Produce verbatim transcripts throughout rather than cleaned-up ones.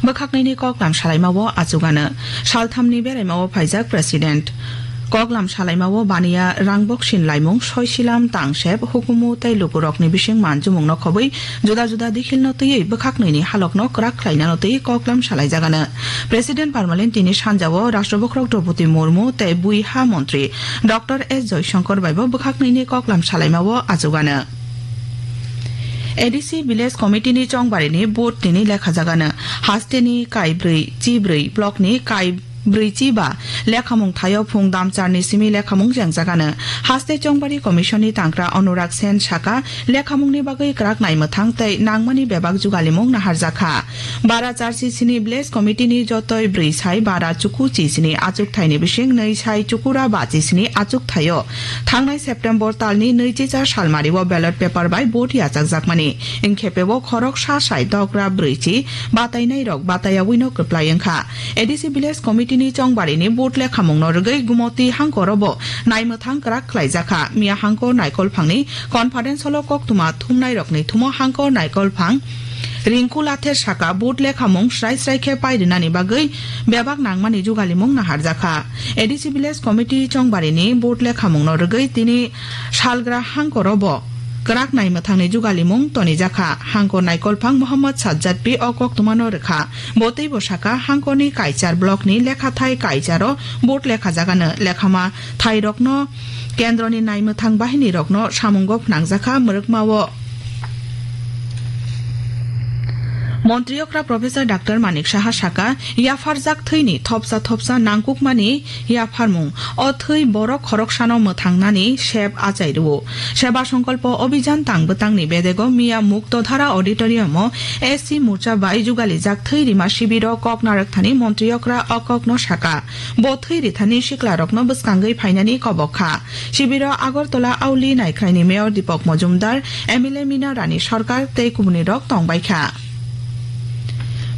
bwkhaknwini koklam salaimao achugano. Salthamni beraimao phaijak President. Koklam salaimao baniya rangbok sinlaimung, soisilam, tangsep, hukumu tei lukurokni bising manjumungno khobwi juda juda dikhilno twiwi bwkhaknwini halokno kwrak khlainano twiwi koklam salaijagano. President Parmalin tini sanjao Rashtrapati Draupadi Murmu tei bui ha montri Doctor S Jaishankar baibo bwkhaknwini koklam salaimao achugano. A D C Village Committee ni chongbarini vote tini lekhajagano. Hasteni kaibrwi chibrwi block ni kaibrwi chiba lekhamung thaio phung damcharni simi lekhamung jengjagano. Haste chongbari commission ni tangkra Anurag Sen saka lekhamungni bagwi kwrak naimwthang tei nangmani bebak jugalimung naharjakha. Bara charchi sini village committee ni jotoi brwi sai bara chuku chi sini achuk thaini bising nwi sai chukura bachi sini achuk thaio. Thangnai September talni nwichi cha salmari o ballot paper bai vote yachakjakmani. Ingkhe pebo khorok sa sai dogra brwi chi batainai rok batayawino kwplai wngkha. A D C village committee ni chongbarini vote lekhamungno rwgwi Gumoti hangkorobo naimwthang kwrak khlaijakha. Miya hangkor Naikolphangni conference hall o koktwma thumnairokni thumo hangkor Naikolphang Rinku Lather saka vote lekhamung srai srai khe pairinani bagwi bebak nangmani jugalimung naharjakha. A D C village committee chongbarini vote lekhamungno rwgwi tini salgra hangkorobo kwrak naimwthangni jugalimung tonijakha. Hangkor Naikolphang Mohammad Sajjad P o koktwmano rwkha. Bo teibo saka hangkorni Kaichar block ni lekhathai Kaicharo vote lekhajagano. Lekhama thairokno kendroni naimwthang bahinirokno samungo phnangjakha mwrwkmao. Montri okra Professor Doctor Manik Saha saka, yapharjak thwini thopsa thopsa nangkukmani yapharmung, o thwi borok khoroksano mwthangnani sep achai rwo. Seba Songkolpo Obhijan tang bwtangni bedego miya Muktodhara Auditorium o S C Morcha bai jugalijak thwi rima sibiro kok narwkthani montri okra o kokno saka. Bo thwi rithani siklarokno bwskangwi phainani kobok kha. Sibiro Agartala Auli Naikhraini Mayor Deepak Majumdar, M L A Mina Rani Sarkar tei kubunirok tongbai kha.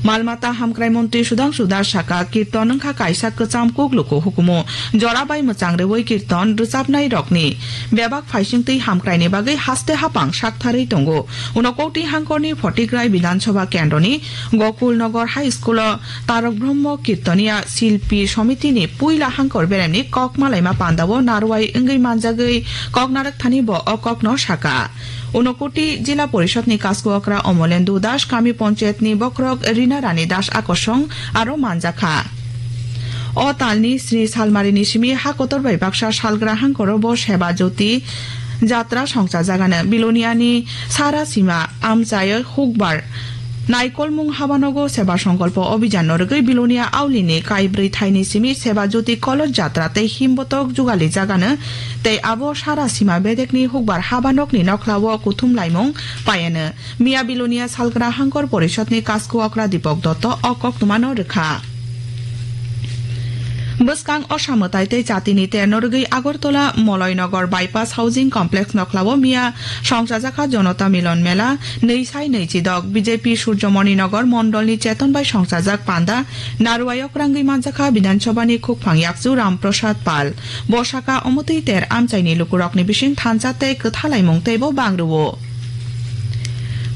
Malmata hamkrai montri Sudhangshu Das saka, kirton wngkha kaisa kwcham kuk luku hukumu. Jora bai mwchang rwui kirton rwchapnai rokni bebak phaisingtwi hamkraini bagwi haste hapang saktharwi tongo. Unakoti hangkorni Photigrai Bidhan Sabha kendroni Gokul Nagar High School o Tarok Brahma Kirtoniya Silpi Somitini puila hangkor beremni kok malaima pandao narwai wngwi manjagwi kok narwkthani bo o kokno saka. Unakoti Jila Porishadni Kasku Okra Omolendu Das, Kami Panchayatni Bokrok Rina Rani Das Akosong aro manjakha. O talni sni salmarini simi ha kotor bai baksa salgra hangkoro bo Seba Jyoti Jatra songchajagano. Biloniani Sara Sima amchai hukbar Naikolmung habanogo Seba Songkolpo Obhijan no rwgwi Bilonia Aulini kaibrwi thaini simi Seba Jyoti Koloj Jatra tei himbotok jugalijagano tei abo Sara Sima bedekni hukbar habanokni nokhlao kuthum laimung paiano. Miya Bilonia Salgra Hangkor Porishadni Kasku Okra Dipok Dotto o koktwmano rwkha. Bwskang Osa mwtai tei chatini terno rwgwi Agartala Moloinagar Bypass Housing Complex nokhlao miya songchajakha Jonota Milon Mela nwi sai nwi chidok. B J P Surjomoni Nagar Mondolni Cheton bai songchajak panda narwai okrangwi manjakha Bidhan Sabhani khukphang yakchu Ram Prasad Pal. Bo saka omotwi ter amchaini lukurokni bising thansa tei kwthalaimung teibo bang rwo.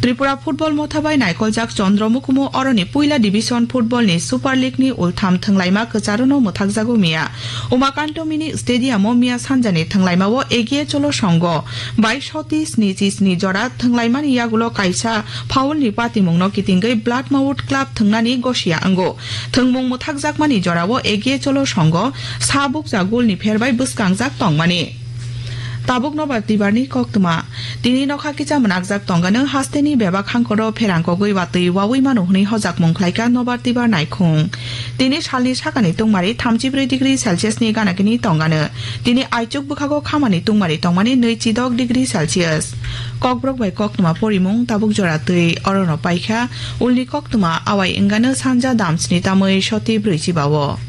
Tripura Football Motha bai naikoljak Chandra Mukumu oroni puila division football ni Super League ni ultham thwnglaima kwcharono mwthakjago miya. Umakanto Mini Stadium o miya sanjani thwnglaima o Egiye Cholo Songho bai soti snichi sni jora thwnglaimani yagulo kaisa foul ni patimungno kitingwi Blood Mouth Club thwngnani gosia wngo. Thwngmung mwthakjakmani jorao Egiye Cholo Songho sa bukcha goal ni pherbai bwskangjak tongmani. Tabuk nobar tibarni koktwma. Tini nokha kicha mwnakjak tongano hasteni bebak hangkoro pherang kogwi watwi wawi mano hwnwi hojakmung khlaika nobar tibar naikhung. Tini salni sakani tungmari thamchibrwi degree Celsius ni ganagini tongano. Tini aichuk bwkhago khamani tungmari tongmani nwi chidok degree Celsius. Kokborok bai koktwma porimung tabuk jora twi orono paikha, ulni koktwma awai wngano sanja damsni tamwi soti brwi chibao.